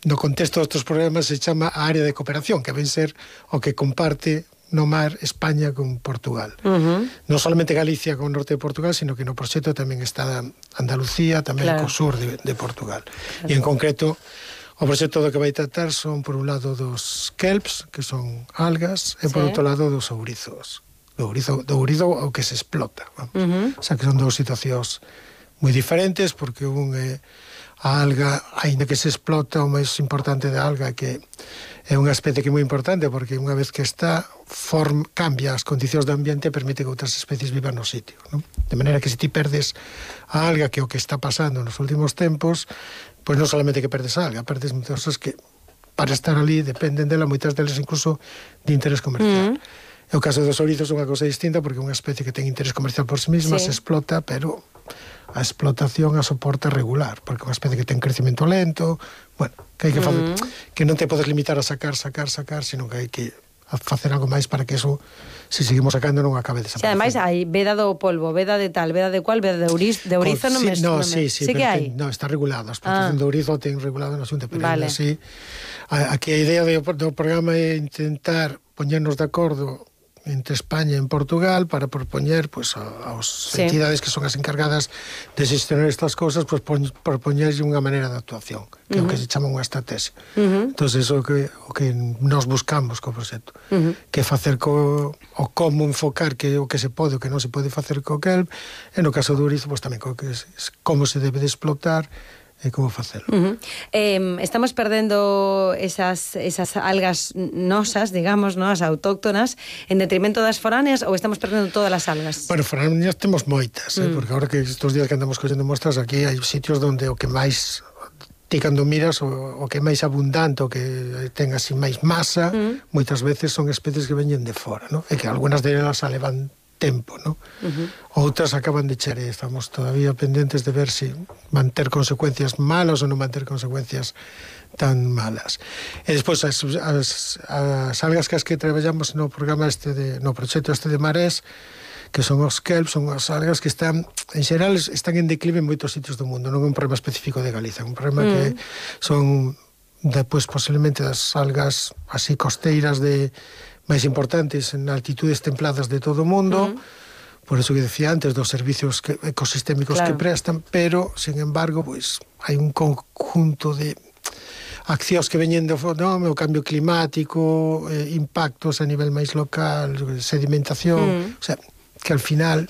no contexto de outros programas se chama a área de cooperación, que ven ser o que comparte no mar España con Portugal. Non solamente Galicia con o norte de Portugal, sino que no proxecto tamén está Andalucía, tamén co sur de Portugal. E en concreto, o proxecto do que vai tratar son, por un lado, dos kelps, que son algas, e por outro lado, dos ourizos. Do ourizo ao que se explota. O sea, que son dous situacións moi diferentes, porque un é a alga, aínda que se explota, o máis importante da alga que é unha especie que é moi importante, porque unha vez que está, cambia as condicións do ambiente e permite que outras especies vivan no sitio, non? De maneira que se ti perdes a alga, que é o que está pasando nos últimos tempos, pois non solamente que perdes a alga, perdes moitas cosas que para estar ali dependen dela, moitas delas incluso de interés comercial. É o caso dos ourizos é unha cosa distinta, porque é unha especie que ten interés comercial por si mesma, se explota, pero a explotación a soporta regular, porque é unha especie que ten crecimento lento, bueno, que hai que facer, que non te podes limitar a sacar, sino que hai que facer algo máis para que eso, se seguimos sacando, non acabe desaparecendo. Ademais, hai veda do polvo, veda de tal, veda de cual, veda de ourizo non me... Sí que hai? No, está regulado, a explotación do ourizo ten regulado na xunta, pero así, aquí a idea do programa é intentar poñernos de acordo entre España e Portugal para propoñer pues, aos entidades que son as encargadas de gestionar estas cousas, pues, propoñerlle unha maneira de actuación, que é o que se chama unha estrategia. Entón, iso o que nos buscamos co proxecto, que facer o como enfocar que o que se pode, o que non se pode facer co kelp, e no caso do ourizo, pues, tamén como se debe de explotar e como facelo. Estamos perdendo esas algas nosas, digamos, as autóctonas, en detrimento das foráneas, ou estamos perdendo todas as algas? Bueno, foráneas temos moitas, porque agora que estes días que andamos collendo mostras, aquí hai sitios onde o que máis ti cando miras o que é máis abundante, o que ten así máis masa, moitas veces son especies que veñen de fora, ¿no? E que algunhas delas a levan tempo, ¿no? Outras acaban de char, estamos todavía pendentes de ver se van ter consecuencias malas ou non van ter consecuencias tan malas. E despois as algas que traballamos no programa no proxecto de Marés, que son os kelps, son as algas que están, en xeral, están en declive en moitos sitios do mundo, non é un problema específico de Galicia, é un problema que son depois posiblemente das algas así costeiras máis importantes en altitudes templadas de todo o mundo, por eso que decía antes dos servicios ecosistémicos que prestan, pero, sin embargo, pues, hai un conjunto de accións que veñen do o cambio climático, impactos a nivel máis local, sedimentación, o sea, que al final,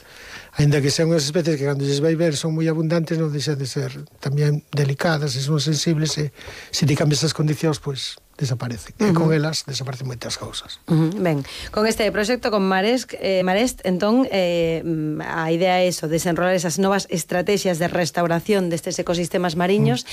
ainda que sean unhas especies que cando lles vai ver son moi abundantes, non deixan de ser tamén delicadas e son sensibles, e se ti cambias as condicións, pois desaparecen. E con elas desaparecen moitas cousas. Ben, con este proxecto con Marest, entón, a idea é eso, desenrolar esas novas estrategias de restauración destes ecosistemas mariños.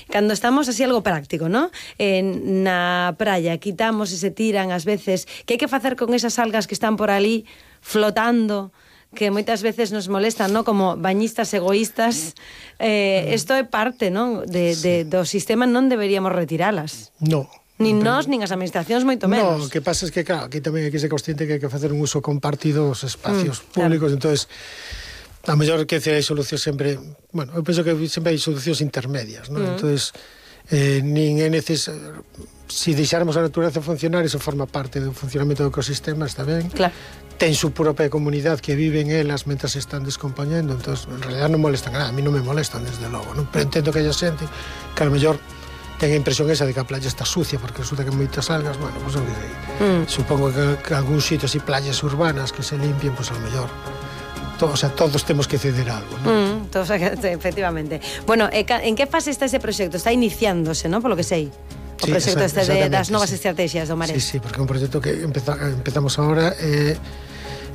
Cando estamos así algo práctico, ¿no? Na praia quitamos e se tiran ás veces, que hai que facer con esas algas que están por ali flotando, que moitas veces nos molestan, ¿no? Como bañistas egoístas. Isto é parte, ¿no? do sistema, non deberíamos retiralas. No. Nin nós, nin as administracións, moito menos. No, o que pasa é que, claro, aquí tamén hai que ser consciente que hai que facer un uso compartido dos espacios públicos, entonces a mellor que hai solucións sempre, bueno, eu penso que sempre hai solucións intermedias, ¿no? Entonces, nin é necesario, se deixáramos a natureza funcionar, iso forma parte do funcionamento do ecosistema, está ben. Claro. Ten su propia comunidade que viven elas mentras se están descompoñendo, entón, en realidad non molestan nada, a mí non me molestan, desde logo, non? Pero entendo que haya xente que a lo mellor ten a impresión esa de que a playa está sucia, porque resulta que moitas algas, bueno, pues, supongo que algún sitio así, playas urbanas que se limpien, pues a lo mellor todos temos que ceder algo, ¿no? Todos, efectivamente. Bueno, en que fase está ese proxecto? Está iniciándose, ¿no? Por lo que sei. O proxecto das novas estrategias do Marés. Sí, porque é un proxecto que empezamos agora,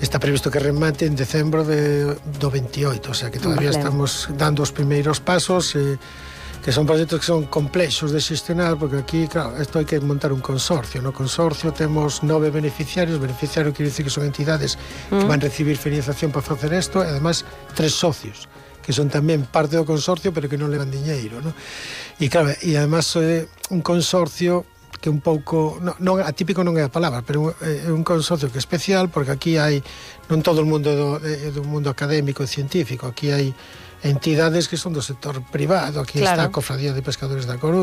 está previsto que remate en decembro do 28, o sea que todavía estamos dando os primeiros pasos, que son proxectos que son complexos de xestionar, porque aquí, claro, isto hai que montar un consorcio. No consorcio temos 9 beneficiarios, beneficiario quere dicir que son entidades que van recibir financiación para facer isto, e además 3 socios, que son tamén parte do consorcio, pero que non levan diñeiro, ¿no? E claro, e además un consorcio que un pouco, non atípico non é a palabra, pero é un consorcio que é especial, porque aquí hai non todo o mundo do mundo académico e científico, aquí hai entidades que son do sector privado, aquí está a Cofradía de Pescadores da Coruña,